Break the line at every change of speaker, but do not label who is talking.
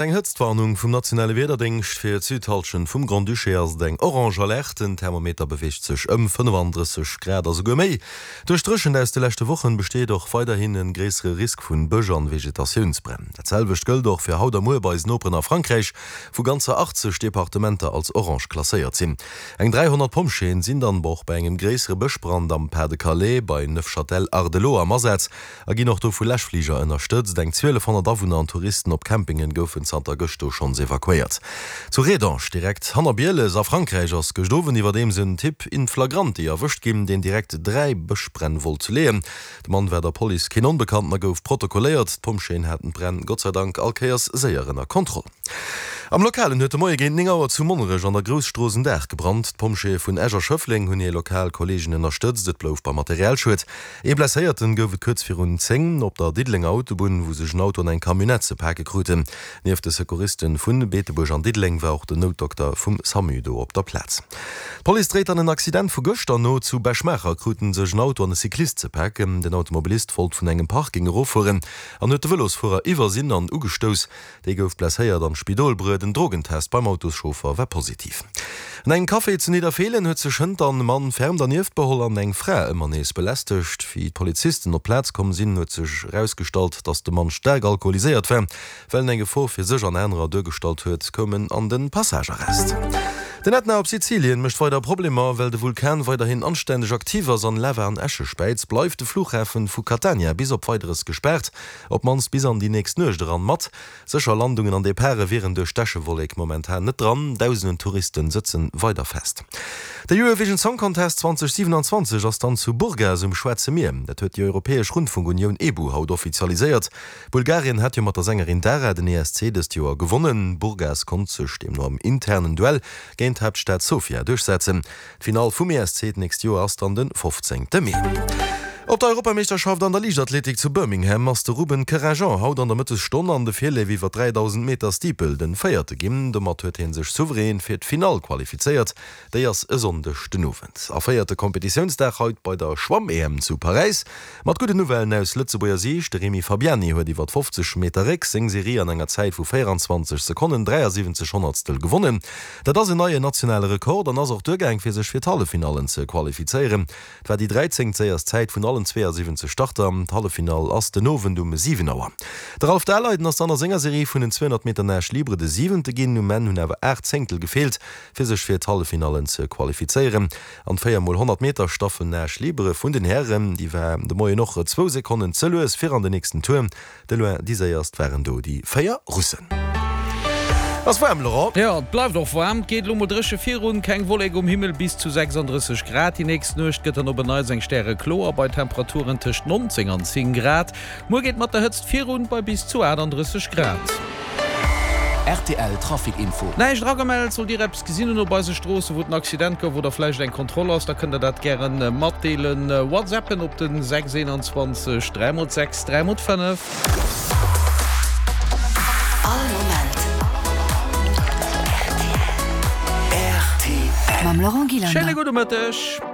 Eng Hëtztwarnung vum nationale Wiederdéngscht fir d'Südhallschent vum Grand-Duché ass et eng orange Alerte. Den Thermometer beweegt sech ëm 35 Grad a souguer méi. Duerch d'Dréchent aus de leschte Wochen besteet och weiderhin en gréissere Risk vun Bësch an Vegetatiounsbränn. Dat selwecht gëllt och fir haut a muer bei eisen Noperen a Frankräich, wou ganzer 80 Departementer als orange klasséiert sinn. Eng 300 Pompjeeën sinn dann och bei engem gréissere Bëschbrand am Pas-de-Calais bei Neufchâtel-Hardelot am Asaz. A ginn och do vu Läschfliger ënnerstëtzt. Eng 1.200 Awunner an Touristen op Campingen goufen zanter gëscht do schonns evakuéiert. Zu Rédange, direkt hanner Bieles a Frankräich, ass gëscht Owend iwwerdeems en Typ in flagranti erwëscht ginn, deen direkt 3 Bëschbränn wollt leeën. De Mann war der Police keen Onbekannten a gouf protokolléiert. D'Pompjeeën haten d'Bränn Gott sei Dank all Kéiers séier ënner Kontroll. Am Lokalen huet de Moie géint 9 Auer zu Monnerech an der Grousstrooss en Daach gebrannt. D'Pompjeeë vun Esch a Schëffleng hunn hir lokal Kolleegen ënnerstëtzt. Et blouf beim Materialschued. Ee Blesséierten gouf et kuerz virun 10 op der Diddelenger Autobunn, wou sech en Auto an eng Camionnette ze pake kruten. Nieft de Secouristen vu Beetebuerg an Diddeleng war och den Noutdokter vum Samu do op der Plaz. D'Police dréit an en Accident vu gëschter no. Zu Bech-Maacher kruten sech en Auto an e Cyclist ze paken. Den Automobilist wollt vun engem Parking eroffueren an huet de Vëlosfuerer iwwersinn an ugestouss. Dee gouf blesséiert an d'Spidol bruet. En Drogentest beim Autoschauffer war positiv. An engem Café zu Nidderfeelen huet sech hënt an e Mann ferm dernieft beholl an eng Fra ëmmer nees belästegt. Wéi d'Polizisten op d'Plaz komm sinn, huet sech erausgestallt, datt de Mann staark alkoholiséiert war. Well en eng Gefor fir sech an anerer duergestallt huet, koum en an de Passagearrest. Den Ätna op Sizilien mécht weider Problemer. Well de Vulkan weiderhin anstänneg aktiv ass an Lava an Äsche späizt, bleift de Flughafen vu Catania bis op Weideres gespaart. Op d'mannst bis an déi nächst Nuecht eran. Mat sécher Landungen an Departe wieren duerch d'Äschewollek momentan net dran. Dausenden Touristen sëtzen weider fest. De Eurovision Song Contest 2027 ass dann zu Burgas um Schwaarze Mier. Dat huet déi Europäesch Rundfunkunioun EBU haut offizialiséiert. Bulgarien hat jo mat der Sängerin Dara den ESC dëst Joer gewonnen. Burgas konnt sech deemno am internen Duell géint d'Haaptstad Sofia duerchsetzen. D'Finall vum ESC d'nächst Joer ass dann de 15 Mee. Op der Europameeschterschaft an der Liichtathletik zu Birmingham ass de Ruben Kerajan haut an der Mëttesstonn an de Virleef iwwer 3000 Meter Steeple den Véierte ginn. Domat huet hie sech souverän fir d'Finall qualifizéiert. Déi ass e Sonndeg den Owend. A véierte Kompetitiounsdag haut bei der Schwamm-EM zu Paräis. Mat gudden Nouvellen aus Lëtzebuerger Siicht, De Remy Fabiani huet iwwer 50 Meter Réck seng Serie an enger Zäit vu 24 Sekonnen 73 Honnertstel gewonnen. Dat ass en neien nationale Rekord an ass och duergaang fir sech fir d'Halleffinallen ze qualifizéieren. Et war déi dräizéngt séierst Zäit vun allen 72 Starter. D'Halleffinall ass den Owend um 7 Auer. De Ralph Daleiden ass dann a senger Serie vun den 200 Meter Nage libre de siwente ginn. Um Enn hunn awer 8 Zéngtel gefeelt fir sech fir d'Halleffinallen ze qualifizéieren. An d' 4 mol 100 Meter Staffel Nage libre vun den Hären, déi war de Moien och zwou Sekonnen ze lues fir an den nächsten Tour. De loin déi séierst waren do déi 4 Russen. Ass waarm, Laurent?
Jo, et bleift och waarm. Et geet elo mol dréche virun, keng Wollek um Himmel, bis zu 36 Grad. Déi nächst Nuecht gëtt dann op en Neits eng stärekloer bei Temperaturen tëscht 19 an 10 Grad. Muer geet mat der Hëtzt virun bei bis zu 38 Grad.
Rtl Trafic Info.
Näischt eragemellt. Sollt Dir eppes gesinn hunn op eise Stroossen, wou et en Accident gouf oder vläicht eng Kontroll ass, da kënnt Der dat gären matdeelen. Whatsappen op den 6 21 3 x 6 3 x 5.
All Moment
rtl.
Mam Laurent Gillander.
Schéine gudde Mëtteg.